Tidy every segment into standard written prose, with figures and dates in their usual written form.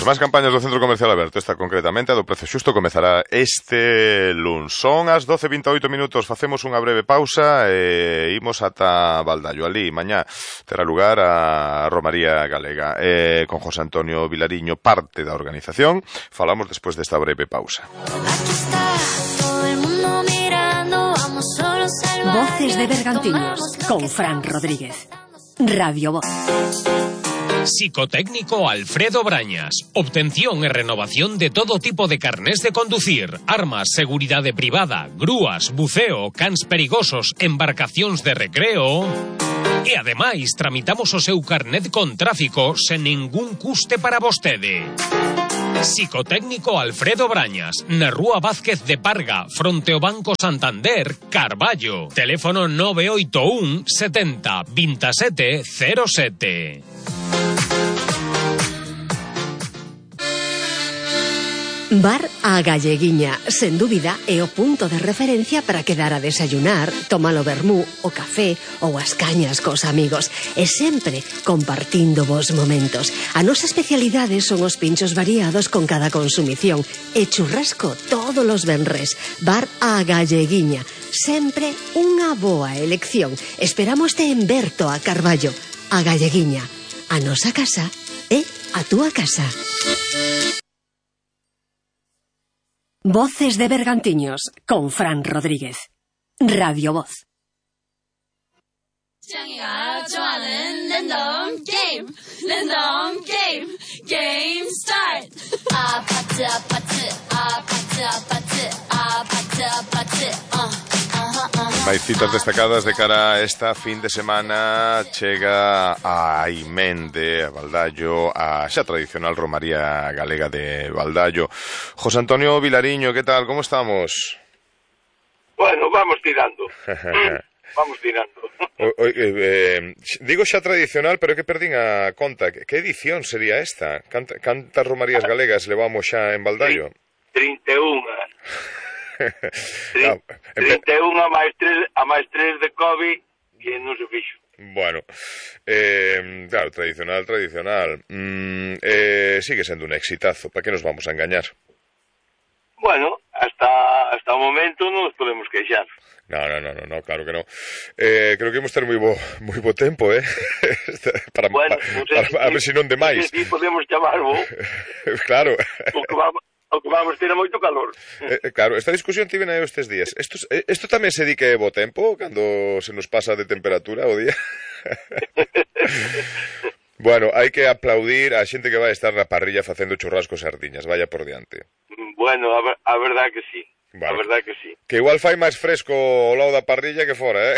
máis campañas do Centro Comercial Aberto, esta concretamente, a do Prezo Xusto, comezará este luns. Son as 12:28 minutos, facemos unha breve pausa e imos ata Baldallo. Ali, mañá, terá lugar a Romaría Galega. Con José Antonio Vilariño, parte da organización. Falamos despois desta breve pausa. Voces de Bergantiños, con Fran Rodríguez. Radio Voz. Psicotécnico Alfredo Brañas. Obtención e renovación de todo tipo de carnés de conducir, armas, seguridade privada, grúas, buceo, cans perigosos, embarcacións de recreo. E ademais tramitamos o seu carnet con tráfico sen ningún custe para vostede. Psicotécnico Alfredo Brañas, na Rúa Vázquez de Parga, fronte ao Banco Santander, Carballo. Teléfono 981 70 27 07. Bar A Galleguiña, sen dúbida, é o punto de referencia para quedar a desayunar, tomar o vermú, o café ou as cañas cos amigos, e sempre compartindo vos momentos. A nosa especialidade son os pinchos variados con cada consumición e churrasco todos os venres. Bar A Galleguiña, sempre unha boa elección. Esperámoste en Berto a Carballo. A Galleguiña, a nosa casa é a túa casa. Voces de Bergantiños, con Fran Rodríguez. Radio Voz. Game start. Máis citas destacadas de cara a esta fin de semana. Chega a Aimende, a Baldallo, a xa tradicional Romaría Galega de Baldallo. José Antonio Vilariño, que tal? Como estamos? Bueno, vamos tirando. Vamos tirando. Digo xa tradicional, pero que perdín a conta. Que edición sería esta? Cantas Romarías Galegas levamos xa en Baldallo? 31. 31 a máis 3 de COVID que non se fixo. Bueno, claro, tradicional. Sigue sendo un exitazo. ¿Para que nos vamos a engañar? Bueno, hasta o momento non nos podemos queixar. No, claro que no. Creo que imos ter moi bo tempo, para a ver se non de máis. Si podemos chamarlo. Claro. O que vamos ter é moito calor. Claro, esta discusión tive aí estes días. Isto tamén se di que é bo tempo cando se nos pasa de temperatura o día. Bueno, hai que aplaudir a xente que vai estar na parrilla facendo churrascos e sardiñas, vaya por diante. Bueno, a verdade que sí. Vale. A verdade que sí. Que igual fai máis fresco ao lado da parrilla que fora,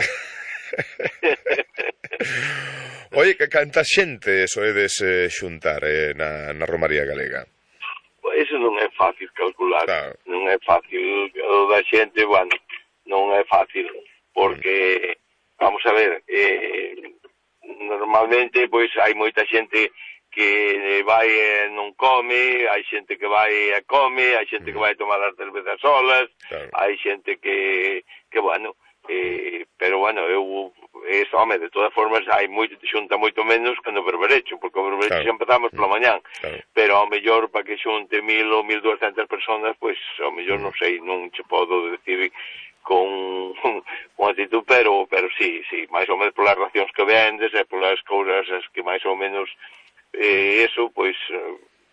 Oye, que canta xente soedes xuntar na Romaría Galega? Eso non é fácil calcular, claro. Non é fácil, o da xente, bueno, non é fácil, porque, vamos a ver, normalmente, pois, hai moita xente que vai e non come, hai xente que vai e come, hai xente que vai tomar as cervezas solas, claro. Hai xente que bueno, pero, bueno, home, de todas formas, xunta moito menos que no berberecho, porque o berberecho xa empezamos pola mañán, pero ao mellor para que xunte 1.000 ou 1.200 personas, pois ao mellor non sei, non che podo decir con actitud, pero sí, máis ou menos polas racións que vendes e polas cousas que máis ou menos eso, pois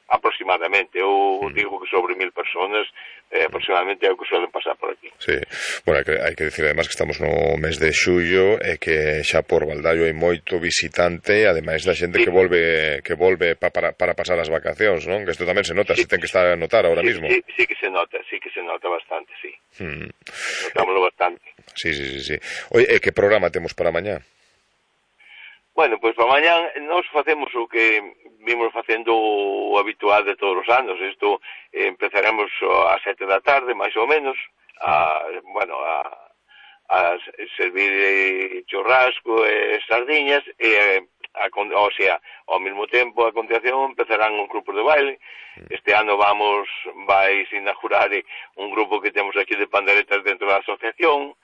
aproximadamente, eu digo que sobre 1.000 personas aproximadamente é o que suelen pasar por aquí. Sí, bueno, hai que decir además que estamos no mes de xullo e que xa por Baldallo hai moito visitante, ademais da xente que volve para pasar as vacacións, non? Que isto tamén se nota, se ten que estar a notar ahora mismo. Sí que se nota bastante, sí. Notámoslo bastante. Sí. Oye, que programa temos para mañá? Bueno, pois para mañán nós facemos o que vimos facendo o habitual de todos os anos. Isto empezaremos ás 7 da tarde, máis ou menos, a servir churrasco e sardiñas, o sea, ao mesmo tempo, a continuación, empezarán un grupo de baile. Este ano vai inaugurar un grupo que temos aquí de panderetas dentro da asociación,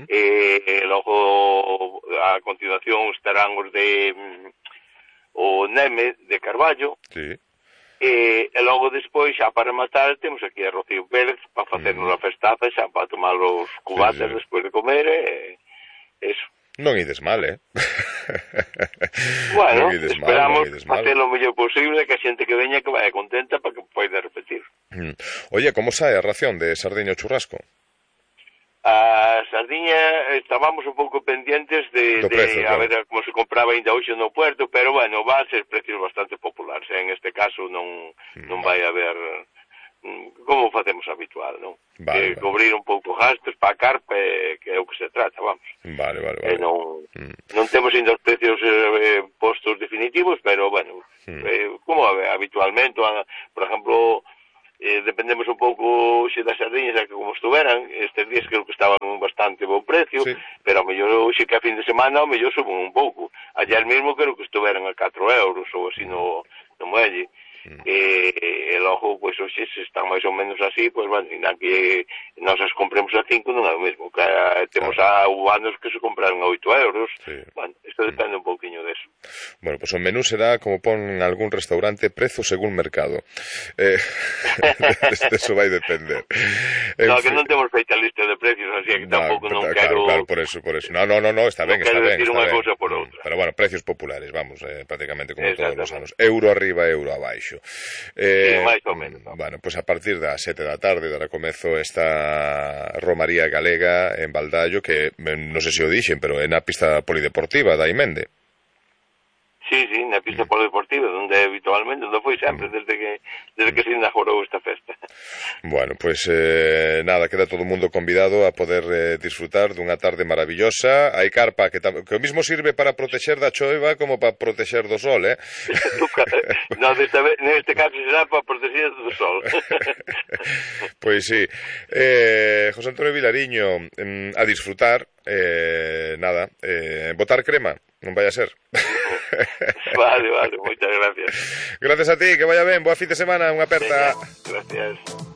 e logo, a continuación, estarán os de o Neme de Carballo, E logo despois, xa para matar, temos aquí a Rocío Pérez para facernos a festaza, xa para tomar os cubates despois de comer, eso. Non ides mal, Bueno, esperamos facer o mellor posible, que a xente que veña que vaya contenta para que poida repetir. Oye, como sae a ración de sardiña ou churrasco? A sardiña estábamos un pouco pendientes de precio, a ver como se compraba ainda hoxe no puerto, pero bueno, va a ser precios bastante populares, en este caso non vai haber como facemos habitual, non? Vale. Cobrir un pouco gastos para a carpe, que é o que se trata, vamos. Vale. Non temos ainda os precios postos definitivos, pero bueno, como habitualmente, por exemplo, dependemos un pouco xe das sardiñas, que como estuveran, estes días creo que estaban bastante bon precio, pero ao mellor xe que a fin de semana, ao mellor suben un pouco. Ayer mesmo creo que estuveran a 4 euros ou así no muelle. E logo, pois, hoxe se están máis ou menos así, pois, bueno, ainda que nós as compremos a 5 non é o mesmo, que temos anos que se compraron a 8 euros, bueno, isto depende un pouquiño deso. Bueno, pois o menú será, como pon en algún restaurante, prezo según mercado. Eso vai depender. No, que non temos feita lista de precios, así que tampouco non quero... Claro, por eso. No, está ben, está ben. Decir unha cousa por outra. Pero, bueno, precios populares, vamos, prácticamente como todos os anos. Euro arriba, euro abaixo. máis ou menos. Bueno, pois a partir das 7 da tarde dará comezo esta romaría galega en Baldallo, que non sei se o dixen, pero é na pista polideportiva da Imende. Sí, na pista polideportiva, onde habitualmente, onde foi sempre, desde que se inaugurou esta festa. Bueno, pois nada, queda todo o mundo convidado a poder disfrutar dunha tarde maravillosa. Hai carpa que o mismo sirve para protexer da choiva como para protexer do sol, No, neste caso será para protexer do sol. Pois sí. José Antonio Vilariño, a disfrutar, nada, botar crema, non vai a ser. Vale, moitas gracias. Gracias a ti, que vaya ben, boa fin de semana, unha aperta. Gracias.